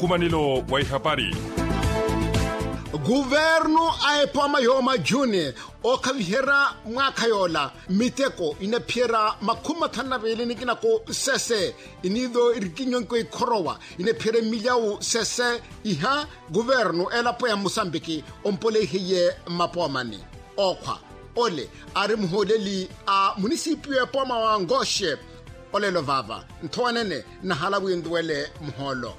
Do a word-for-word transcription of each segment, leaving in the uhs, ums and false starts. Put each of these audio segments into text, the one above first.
Nkumanelo wa ihapari. Kuvernu a epooma yooma juni ookhaviherya mwaakha yoola miteko inaphiyerya makhumi mathanu na veeli nikina ku sese iniitho irikinyonkwe ikhorowa inaphiyerya milyawu sese iha kuvernu elapo ya musambiki ompoleihiye mmapoomani. Ookhwa ole aari muhooleli a munisipiyu epooma wa ngoxe. Olelo vaava nthowanene nnahala wi ntuwele muhoolo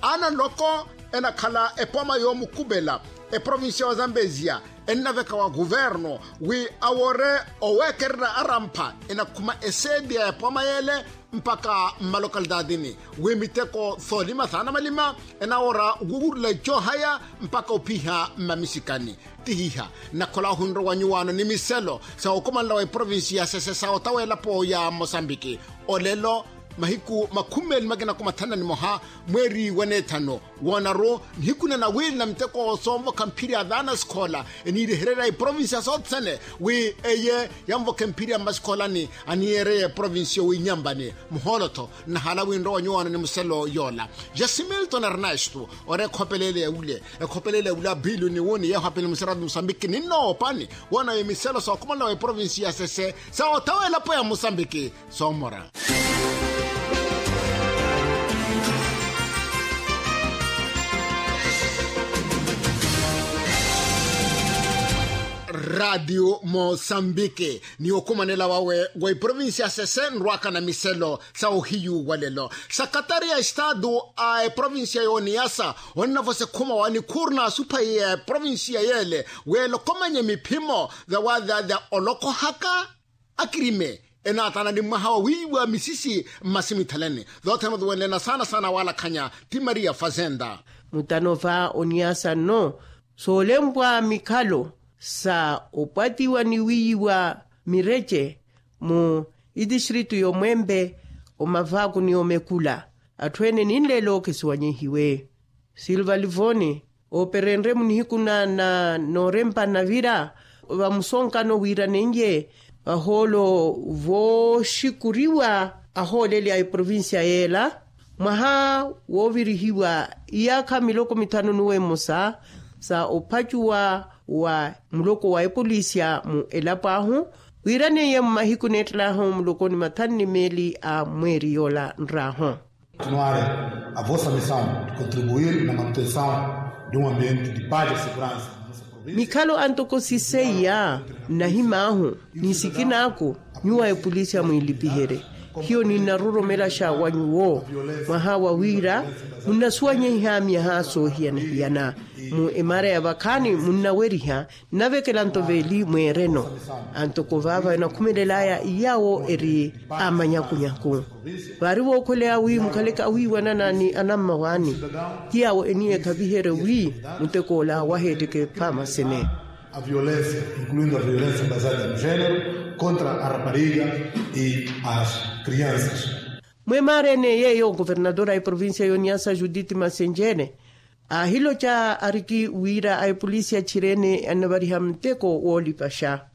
ana nloko enakhala epooma yoomukupela eprovincia wa zambezia ennaveka wa kuvernu wi awoore oweekererya arampha enakhuma eseedi ya epooma yeele mpaka mmalokalitaatini wi miteko soolima saana malima enawoora okukurula icoohaya mpaka ophiha mmamisikani. Tihiha nnakhola ohunrowa nyuwaano ni miselo sa okumanela wa eprovinsi ya sese sa otawa elapo ya mosambiki olelo mahiku makhumi meeli makina kumathanu na nimoha mweeri wa neethanu woonaru nihiku na nawiili na miteko soonvokha mphiri ya vaana sikhoola eniirehererya eprovinsi ya sothene wi eye yanvokhe mphiri ya mmasikhoola ni aniyeereye eprovinsi yowiinyambani muhoolo-tho nnahala winrowa nyuwaano ni muselo yoola. Jasimilton ernesto ori ekhopeleele ya wule ekhopeleele ya wule apilu ni wuni yeeho apini musiratu musambiki ninnoopani woona wi miselo sookhumala wa eprovinsi ya sese sa otawa elapo ya musambiki soomora. Ratio mosambiki ni okhumanela wawe wa eprovinsi ya sese nrwaka na miselo sa ohiyu wa lelo sakatari ya estadu a eprovinsiya y'oniyasa onnavosa ekhuma wa nikhuuru n'asuphaiya ya eprovinsiya y'ele weelokomanye miphimo vyawavyavya olokhohaka akirime enaatana ni mwaha wa wiiwa misisi mmasimithaleni. Zothene otuwenlena saana saana waalakhanya ti maria fazenda. Mutano va oniyasa nno soolempwa mikhalo sa opwatiwa ni wiiwa mirece mu itistritu y'omwempe omavaaku ni omekula atthu ene ninleelo khesiwanyihiwe. Silva livoni ooperenrye munihiku na noorempa navira vamusonkano wiiranenye vahoolo vooxikuriwa ahooleli a eprovincia yeela mwaha woovirihiwa iyaakha miloko mithanu nuwe mmosa sa ophacuwa wa muloko wa epolisia mu elapo ahu wiiraneiye mmahiku neettelaahu muloko ni mathanu ni meeli a mweeri yoola nraahu. Continuare a vossa missão de contribuir na manutenção de um ambiente de paz e segurança. Mikhalo antoko siseiya nnahim'ahu ni sikin'aku nyuwo a epolisi amwiilipiherye hiyo ninnaroromelaxa wa nyuwo mwaha wa wira munnasuwanyehiha myaha soohiyana-hiyana mu emara ya vakhaani munnaweriha nnavekela nto veeli mweereno antoko vaava enakhumelelaya iyawo eri a manyakunyaku vaari vookhweleya wi mukhaleke awiiwanana ni anammawaani ti awo eniye ekhaviherye wi mutek'ola waheetteke phaama sene. A violencia incluindo a violencia basada no genero contra a rapariga e as crianças. Mwemaarene yeeyo governadora a eprovincia y'oniyasa judith masenjene aahiloca ariki wira a epolisi achireene annavariha muteko woolipaxa.